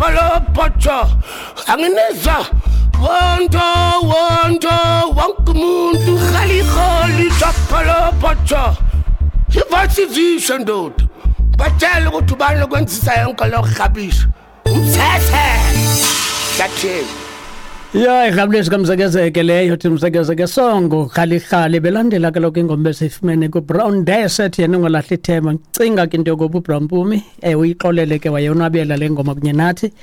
chapalophotsho anginizwa wonto wonto wonke umuntu rhali chapalophotsho ivasizisho ndoda batshela ukuthi ubani okwenzisa yonke lo rhabisho umthethe sathini. Ya, irhabulesi kamzekezeke leyo thi mzekezeke songo khalikhali belandela kaloku ingoma besiyifumene kuBrown Desert yena ungalahli ithemba. Ndicinga ke into yokoba uBrown Mpumi uyixolele ke wayonwabela le ngoma kunye nathi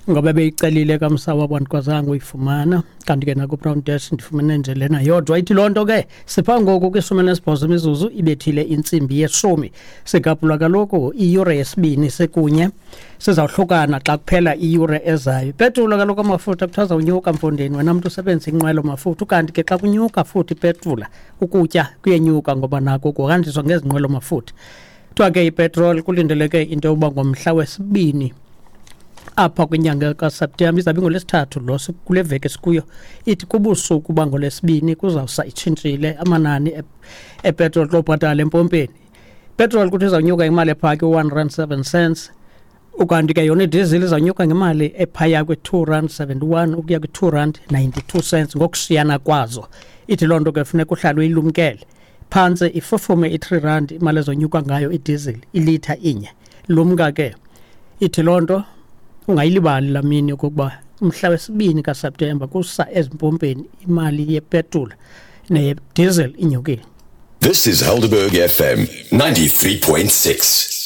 ngoba beyicelile kamsawa wandikwazanga uyifumana. Kanti ke nakuBrown Desert ndifumene nje lena yodwa. Ithi loo nto ke sipha ngoku kwishumi elinesibhozo imizuzu ibethile intsimbi yeshumi. Sigabhula kaloku iyure yesibini sekunye, sizawuhlukana xa kuphela iyure ezayo. Ipetroli kaloku amafutha kuthiwa azawunyuka mfondini, wena mntu usebenzisa inqwelo mafutha. Ukanti ke xa kunyuka futhi ipetroli, ukutya kuyenyuka ngoba nako kuhanjiswa ngezinqwelo mafutha. Kuthiwa ke ipetroli kulindeleke into yokuba ngomhla wesibini apha kwinyanga kaSeptemba, izawube ingolwesithathu lo kule veki sikuyo, ithi kubusuku bangolwesibini kuzawusa itshintshile amanani epetroli xa ubhatala empompeni. Petrol kuthi izawunyuka imali ephaya kwi-one rand seven cents, ukanti ke yona idizili izawunyuka ngemali ephaya kwi-two rand seventy-one ukuya kwi-two rand ninety-two cents ngokushiyana kwazo. Ithi loo nto ke funeka uhlale uyilumkele. Phantse ifufume i-3 rand imali ezonyuka ngayo idizili ilitha inye. Lumka ke, ithi loo nto ungayilibali laa mini okokuba umhla wesibini kaSeptemba kusa ezimpompeni imali yepetroli neyediesel inyukile. This is Helderberg FM 93.6.